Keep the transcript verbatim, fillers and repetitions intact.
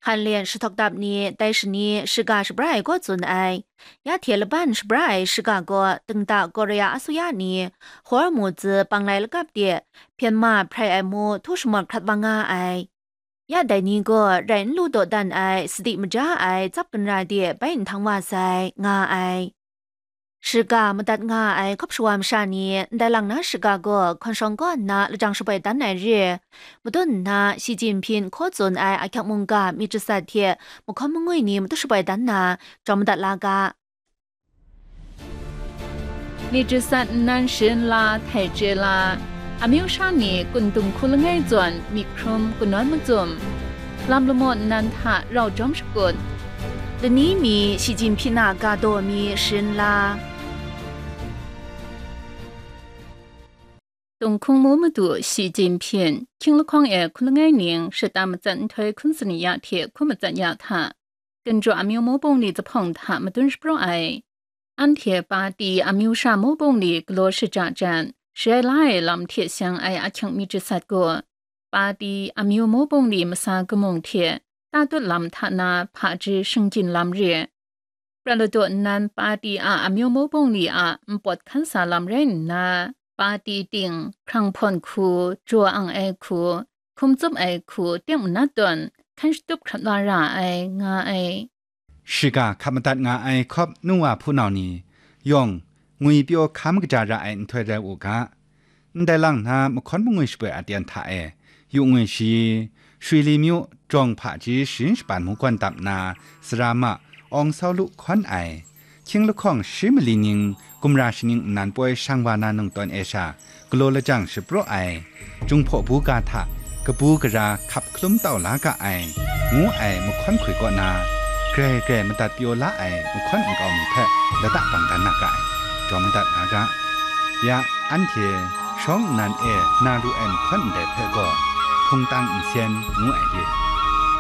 Hkanlen shahtaw dap ni dai shani shiga shabra ai gaw tsun ai. Ya hte laban shabra ai shiga gaw dingda Korea asuya ni Hormuz panglai lakap de hpyen ma hprai ai mu htu shamawt hkrat wa nga ai. Ya dai ni gaw rai n lu dawdan ai, sadi maja ai, tsap gunra de bai nhtang wa sai, nga ai. Shiga madat nga ai hkawp shawa masha ni ndai lang na shiga gaw hkawn shawng kaw nna lajang shaboi dan ai re, madun nna Shi Jinping hkaw tsun ai ahkyak mungga myit jasat hte mahkawn mangwi ni matu shaboi dan na, jawm madat la ga. Myit jasat nnan sharin la, htai chye la, amyu sha ni kun dung hku langai zawn myit hkrum kanawn macum, lam lamaw nnan hta rau jawm shakut, lani mi Shi Jinping a ga daw mi sharin la. Tunghkung mu madu Shi Jinping, hkying lahkawng e hku langai ning shata matsat nhtoi hkun sani ya hte hku matsat ya hta, Ginjaw amyu mu bungli zahpawng hta madun shapraw ai. Anhte pati amyu sha mu bungli galaw shaja jan, shai la ai lam hte seng ai ahkyang myit jasat gaw, pati amyu mu bungli masa kamung hte tatut lam hta na hpaji shinggyin lam re. Pra ladaw nnan pati a amyu mu bungli a npawt hkan sa lam rai nna, pati ting, hkrang hpawn hku, jaw ang ai hku, hkum tsup ai hku, teng manat tawn, hkan shatup hkrat wa ra ai, nga ai. Shiga hkap madat nga ai hkawp nu wa hpunau ni yawng ngwipyaw hkam kaja ra ai nhtoi rai u ga. Ndai lang na mahkawn mangwi shaboi aten hta e, yu ngwi shi, Shwi Li Myu, jawng hpaji sharin shapan mungkawn dap nna, sara ma, awng sau lu hkawn ai, hkying lahkawng shi mali ning, gumra shaning nnan poi shang wa na nungtawn e sha, galaw lajang shapraw ai, Jinghpaw buga hta kabu gara hkap hkalum tau la ga ai, ngu ai mahkawn hkoi kaw na, grai grai madat pyaw la ai mahkawn nkau mi hpe lata bang dan na ga ai, jawm madat nga ga. Ya, anhte shawng nnan e na lu ai mahkawn ndai hpe gaw, hpungtang nsen ngu ai re.